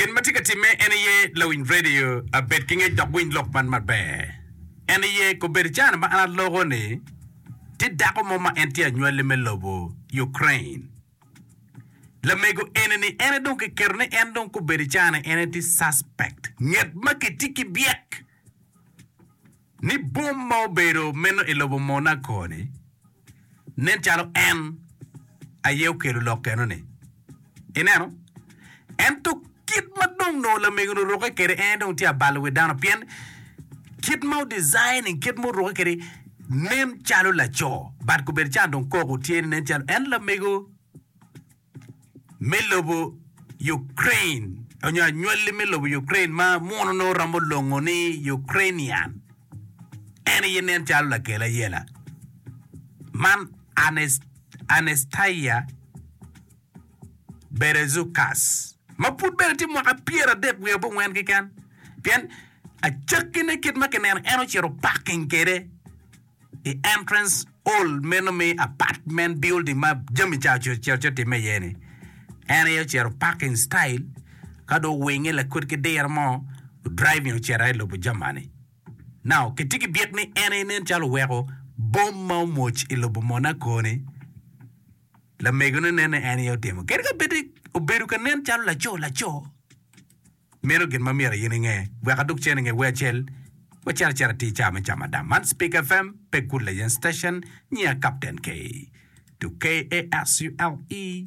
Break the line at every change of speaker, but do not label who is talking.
Gin ma tye ka timme en aye lawiny radio abed ki ngec dok winy lok man maber. En aye kobedo cana ma an aloko ni tye dako mo ma en tye anywali me lobo Ukraine. Lamego eni ni en aye dong kiketo ni en dong kobedo cana en aye tye suspect nget ma kitye ki byek ni bom ma obedo meno i lobo Monaco ni nen calo en aye okelo lok eno-ni. Ineno? Ento kit ma dong nongo lamego-ni orukke kwede en dong tye abalo wi dano pien kit ma odesigning, kit ma orukke kwede nen calo laco. But kobedo ca dong koko tye ni nen calo en lamego me lobo Ukraine onyo anywali me lobo Ukraine ma muno nongo romo longo ni Ukrainian. En aye nen calo lakel ayela man Anastasia Berezukas ma pud bene tye mwaka 30 wiye abongwen keken pien acakkine kit ma kineno en ocito parking kwede i entrance hall meno me apartment building ma jami ca ocito ci otimme iye-ni. En aye ocito parking style ka dong owinge lakwed ki diro mo driving ocito i lobo Germany. Now kitye ki byek ni en aye nen calo oweko bom ma omwoc i lobo Monaco-ni lamegone nen ni en aye otimo. Kadi ka bed ni obedo ka nen calo laco laco. Meno gin ma myero in inge. Wek adug cen i nge wer acel, wacit acita atir i cawa me camo adam. Man Speak FM, pe Good Legend Station, nyinga Captain K. To K-A-S-U-L-E.